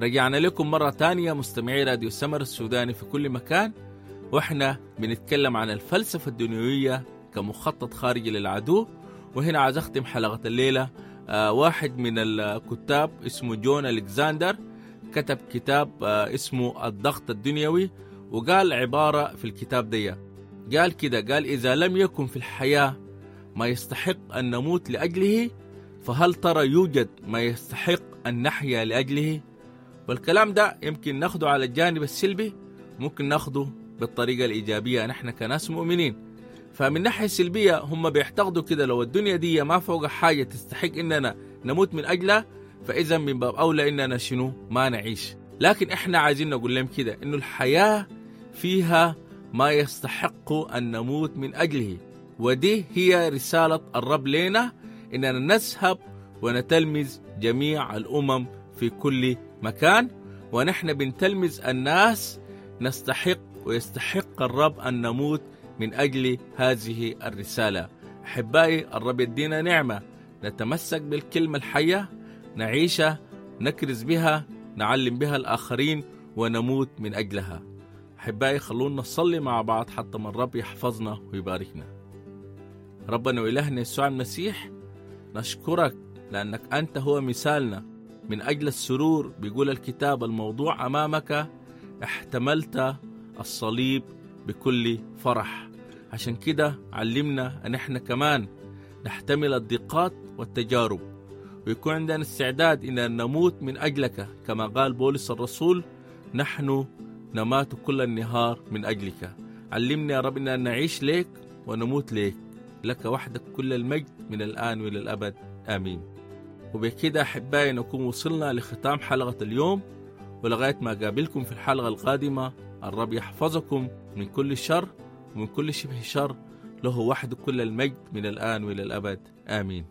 رجعنا لكم مرة تانية مستمعي راديو سمر السوداني في كل مكان، واحنا بنتكلم عن الفلسفة الدنيوية كمخطط خارجي للعدو. وهنا عايز اختم حلقة الليلة. واحد من الكتاب اسمه جون ألكساندر كتب كتاب اسمه الضغط الدنيوي، وقال عبارة في الكتاب دي، قال كده، قال: إذا لم يكن في الحياة ما يستحق أن نموت لأجله، فهل ترى يوجد ما يستحق أن نحيا لأجله؟ والكلام ده يمكن ناخده على الجانب السلبي، ممكن ناخده بالطريقة الإيجابية نحن كناس مؤمنين. فمن ناحية سلبية هم بيعتقدوا كده لو الدنيا دي ما فوق حاجة تستحق إننا نموت من أجلها، فإذا من باب أولى إننا شنو ما نعيش. لكن إحنا عايزين نقول لهم كده إنه الحياة فيها ما يستحق أن نموت من أجله، ودي هي رسالة الرب لنا، إننا نذهب ونتلمذ جميع الأمم في كل مكان. ونحن بنتلمذ الناس نستحق ويستحق الرب أن نموت من أجل هذه الرسالة. أحبائي، الرب يدينا نعمة نتمسك بالكلمة الحية، نعيشها، نكرز بها، نعلم بها الآخرين، ونموت من أجلها. أحبائي، خلونا نصلي مع بعض حتى ما الرب يحفظنا ويباركنا. ربنا وإلهنا يسوع المسيح، نشكرك لأنك أنت هو مثالنا من أجل السرور. بيقول الكتاب: الموضوع أمامك احتملت الصليب بكل فرح. عشان كده علمنا أن احنا كمان نحتمل الضيقات والتجارب، ويكون عندنا استعداد إن نموت من أجلك، كما قال بولس الرسول: نحن نمات كل النهار من أجلك. علمنا يا رب إن نعيش ليك ونموت ليك. لك وحدك كل المجد من الآن وإلى الأبد، آمين. وبكده أحبائي نكون وصلنا لختام حلقة اليوم، ولغاية ما أقابلكم في الحلقة القادمة، الرب يحفظكم من كل شر ومن كل شبه شر. له وحده كل المجد من الآن وإلى الأبد، آمين.